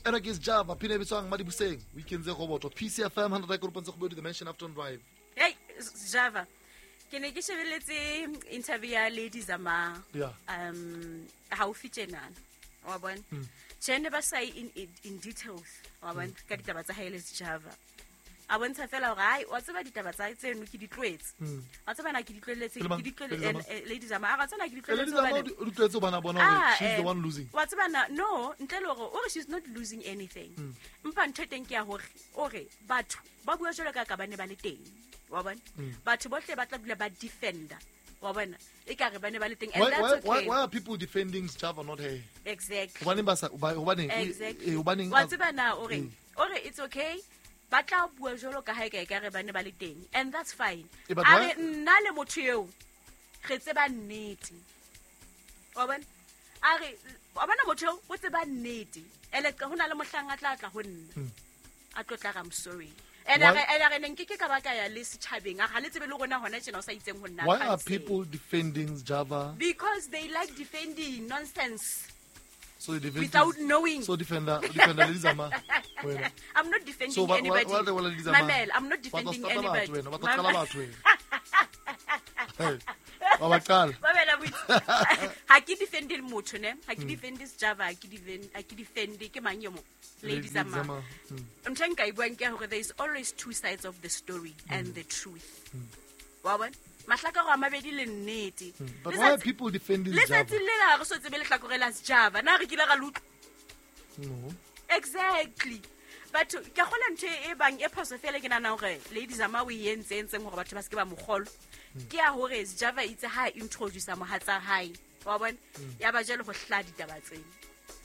Ena ke Sjava pina e bitswang Madibuseng. Weekend tse roboto. PCFM 100.7 The Mansion Afton Drive. Hey, Java. Ke ne ke shebeletse interview ya Lady Zama. Yeah. Haufi tjenana. Wa bona? Tjhe ne ba sa ye in details. Wa bona? Ka ditaba tsa hae le Sjava. A bontsha fela hore ai wa tseba ditaba tsa tseno ke di tlohetse. Wa tseba na ke di tlohelletse, Pele mang? ke di tlohelle- Lady Zama? Lady Zama. A re, wa tseba na ke di Lady tlohelletse Zama hobane o di tlohetse hobane a bona hore Ah, she's the one losing. Wa tseba na, no, ntle le hore o re she's not losing anything. Empa ntho e teng ke ya hore o re batho ba bua jwalo ka ka ba ne ba le teng. Wa bona? Batho bohle ba tla dula ba defender. Wa bona? Ekare ba ne ba le teng. And Why, that's why, why, okay. why are people defending Sjava, not her? Exactly. Hobaneng ba sa hobaneng Exactly. hobaneng Wa tseba na o reng? O re it's okay. Ba tla bua jwalo ka ha e ka ekare ba ne ba le teng. And that's fine. But A why re nna le motho eo re tseba nnete. Wa bona? A re wa bona motho eo o tseba nnete. Ele ho na le mohlang a tla tla ho nna. A tlo tla re, I'm sorry. And Why a re ne nkeke ka ba ka ya le setjhabeng. A re ha le tsebe le rona hona tjena o sa itseng ho nna. Why are Can't say. people defending Sjava? Because they like defending nonsense. So they defend Without knowing. So defender Lady Zama. Wena. I'm not defending So anybody. wa Lady Zama. Mamela, I'm not Ba tla defending stata batho anybody. wena, ba tla qala batho wena. Hey, ba ba qala. Mamela, boitse. Ha ke defende motho ne, ha ke defende Sjava, ha ke defend, ha ke defende ke mang yo mo? Lady Lady Zama. Zama. Ntho e nka e buang ke hore there is always two sides of the story and the truth. Wa bona? Mahlakore a mabedi le nnete. But why are people defending Le Sjava? tsatsing lena ha re so tsebe lehlakore la Sjava. Na re kile ra le utlwa? No. Exactly. But ke a kgolwa ntho e bang e phoso fela ke nahana hore Lady Zama o e entse entseng hore batho ba se ke ba mo kgolwa. Ke ya hore Sjava itse ha a introduce mohatsa hae. Wa bona? Ya ba jwale ho hlaha ditaba tsena.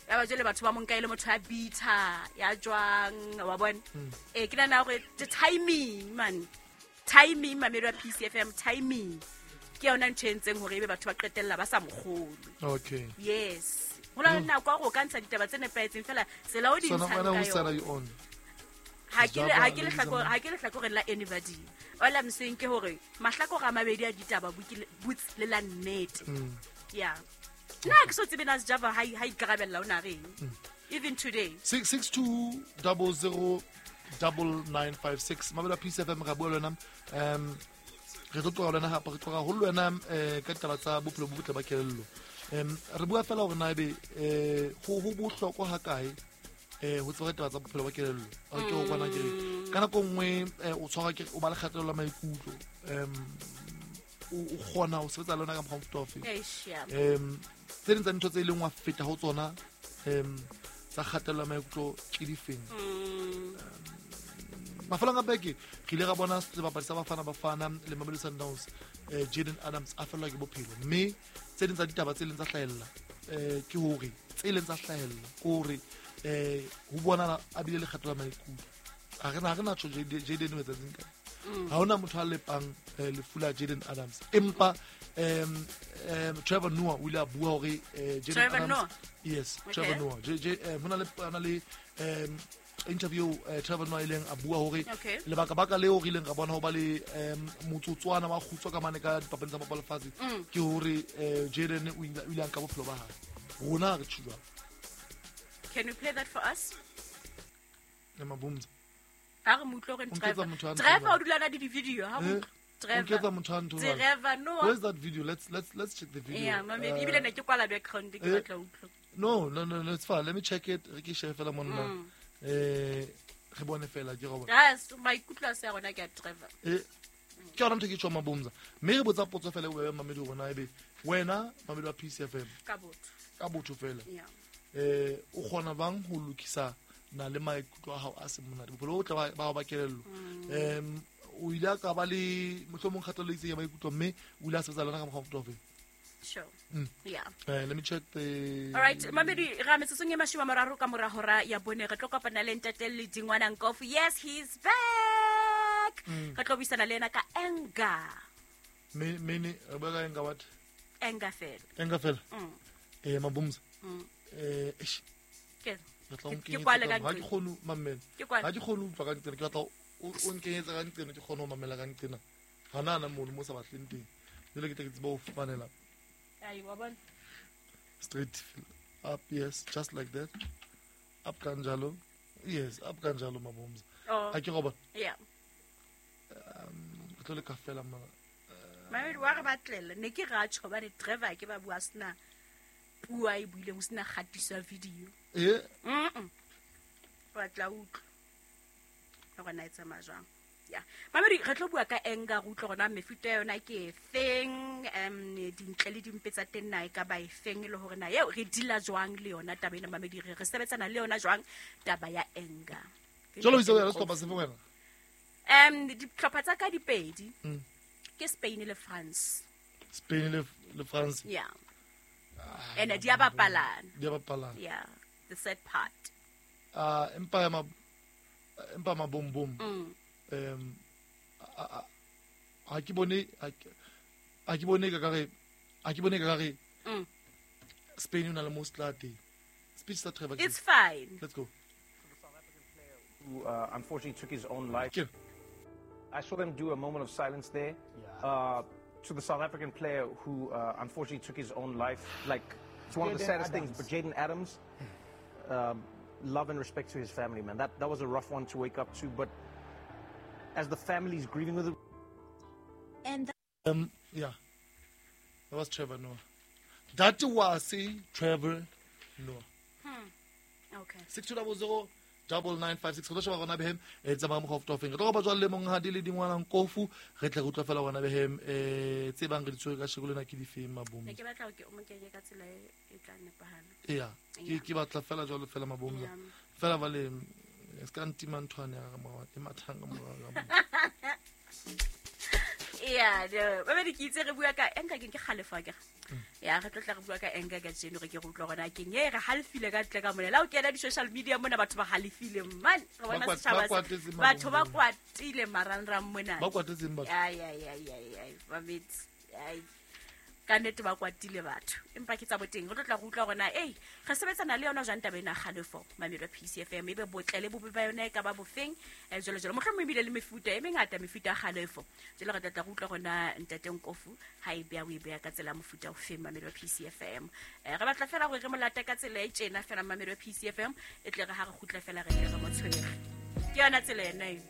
Ya ba jwale batho ba mo nka e le motho ya bitter, ya jwang, wa bona? Ke nahana hore the timing, man. Timing, mamedi wa PCFM, timing. Ke yona ntho e entseng hore ebe batho ba qetella ba sa mo kgolwe. Okay. Yes. Ho na le nako ya hore o ka ntsha ditaba tse nepahetseng fela tsela o di So ntshang wena ka whose side yona. are you on? Ha ke le, Sjava, ha ke le Lady hlakore, Zama. ha ke le hlakoreng la anybody. All I'm saying ke hore mahlakore a mabedi a ditaba botse le la nnete. Yeah. Nna ha ke so tsebe na Sjava ha ikarabella o na reng. Even today. Six, six two double zero double nine five six. Mabela PCFM ra bua le wena. Re tlo tloga le wena hape, re tloga haholo le wena, ka ditaba tsa bophelo bo botle ba kelello. Re bua fela hore na ebe, ho bohlokwa ha kae, ho tseba ditaba tsa bophelo ba kelello. A ke ho kwana ke re, ka nako nngwe, o tshwarwa ke, o ba le kgatello ya maikutlo. O kgona ho sebetsa le yona ka mokgwa o mofuta ofe? Eish, yeah. Tse ding tsa dintho tse leng wa feta ho tsona, tsa kgatello ya maikutlo ke difeng? Mafelong a beke re ile ra bona sebapadi sa Bafana Bafana le Mamelodi Sundowns, Jaden Adams a fellwa ke bophelo, mme tse ding tsa ditaba tse leng tsa hlahella, ke hore tse leng tsa hlahella ke hore, ho bonahala a bile le kgatello ya maikutlo. Ha re na, ha re na tjho Jaden o etsahetseng kae. Ha hona motho a lepang, lefu la Jaden Adams, empa, Trevor Noah o ile a bua hore, Jaden Trevor Adams Noah? Yes, Okay. Trevor Noah. J, J, hona le, hona le, interview, Trevor Noah ileng a bua hore Okay. lebaka baka leo re ileng ra bona ho ba le, motsotswana wa kgutswa ka mane ka dipapading tsa bapala lefatshe, ke hore, Jaden o ile a nka bophelo ba hae. Rona re tjho jwalo. Can you play that for us? Ya mabumza. Ha re mo utlwe hore O nketsa Trevor. motho a Trevor ntho o dula na le di-video, ha mo utlwe. O nketsa motho a ntho jwale. Trevor Noah. Where's that video? Let's check the video. Yeah, mamedi, ebile ne ke kwala background, ke batla ho utlwa. No, no, no, no, it's fine. Let me check it. Re ke share fela monna. Re bone fela ke go bona. Yes, maikutlo a se a rona ke a Trevor. Ke yona ntho e ke tjho mabumza. Mme re botsa potso fela e bobebe mamedi hore na ebe wena mamedi wa PCFM Ka botho. ka botho fela. Yeah. O kgona bang ho lokisa na le maikutlo a hao a seng monate, bophelo bo botle ba hao ba kelello. O ile a ka ba le mohlomong kgatello e itseng ya maikutlo, mme o ile a sebetsa le yona ka mokgwa o mofuta ofe? Sure. Yeah. Let me check the All right, mamedi, ra metsotsong e mashome a mararo ka mora hora ya bone re tlo kopana le ntate Ledingwana Nkofu. Yes, he's back. Re tlo buisana le ena ka anger. Mene, re bua ka anger what? Anger fela. Anger fela? Mabumza. Eish. Ke Re tla o Ke nkenyetsa kwale ka ka ha ke nqena. kgone ho mamela. Ke kwale. Ha ke kgone ho utlwa ka nqena, ke batla o nkenyetsa ka nqena, ke kgone ho mamela ka nqena. Hana hana mono mo sa batleng teng. Jwale ke tla ke tsebe ho fumanela. Ai, wa bona? Straight up, yes, just like that. Up kanjalo. Yes, up kanjalo mabomza. Oh. A ke go bona. Yeah. Re tlo leka fela mara. Mamedi wa re batlela ne ke ratjho hobane Trevor ke ba bua sena puo a e buileng ho sena kgatiso ya video. Eh? Wa tla utlwa hore na e tsamaya jwang. Yeah. Mamedi re tlo bua ka anger, re utlwe hore na mefuta ya yona ke efeng, dintle le dimpe tsa teng na e ka ba efeng, le hore na eo re deala jwang le yona taba ena. Mamedi re sebetsana le yona jwang taba ya anger. Jalo o itse o ya le sehlopha sefe wena? Dihlopha tsa ka di pedi. Ke Spain le France. Spain le France. Yeah. And di a bapalana. Di a bapalana. Yeah, the sad part. Empa ma bom bom. Ha ke bone, ha ke bone ka re, ha ke bone ka re. Spain o na le most late. Speech sa Trevor. It's fine. Let's go. Who unfortunately took his own life. Ke. I saw them do a moment of silence there. Yeah. To the South African player who unfortunately took his own life. Like, it's one of the Jayden saddest Adams. things. But Jayden Adams, love and respect to his family, man. That was a rough one to wake up to. But as the family's grieving with it. And yeah. That was Trevor Noah. That was Trevor Noah. Okay. 6200 9956. Re tlo sheba rona behem, tsamaya mokgwa o fetofeng. Re tlo kopa jwale le monghadi le dingwana Nkofu, re tle re utlwe fela rona behem, tse bang re di tshwere ka sheko lena ke difeng mabomza. Ne ke batla hore ke o mo kenye ka tsela e tla nepahala. Eya, Yeah. ke batla fela jwalo fela mabomza. Yeah. Fela ba le, se ka ntima nthwane ya ka morao, e mathang ka morao ka mona. Yeah, no. Ba be ke itse re bua ka anger, ke kgalefo akere. Ya, re tlo tla re bua ka anger ka jeno, re ke re utlwa hore na keng e re halefile ka ntle ka mona. La o kena di-social media mona, batho ba halefile, man. Re bona Ba setjhaba se- kwatetse batho ba mabombo. kwatile marangrang mona. Ba kwatetseng batho? Ai, ai, ai, ai, ai, mamedi. Ai. Ka nnete ba kwatile batho. Empa ke tsa boteng. Re tlo tla re utlwa hore na, ei, re sebetsana le yona jwang taba ena ya kgalefo, mamelo ya PCFM, ebe botle le bobe ba yona e ka ba bofeng, jwalo jwalo. Mohlomong ebile le mefuta e mengata, mefuta ya kgalefo. Jwale re tla tla re utlwa hore na ntate Nkofu ha e beha, o e beha ka tsela ya mofuta ofeng, mamelo ya PCFM. Re batla fela hore re mo late ka tsela e tjena fela, mamelo ya PCFM, e tle re ha re kgutla fela re tle re mo tshwere. Ke yona tsela ena eo.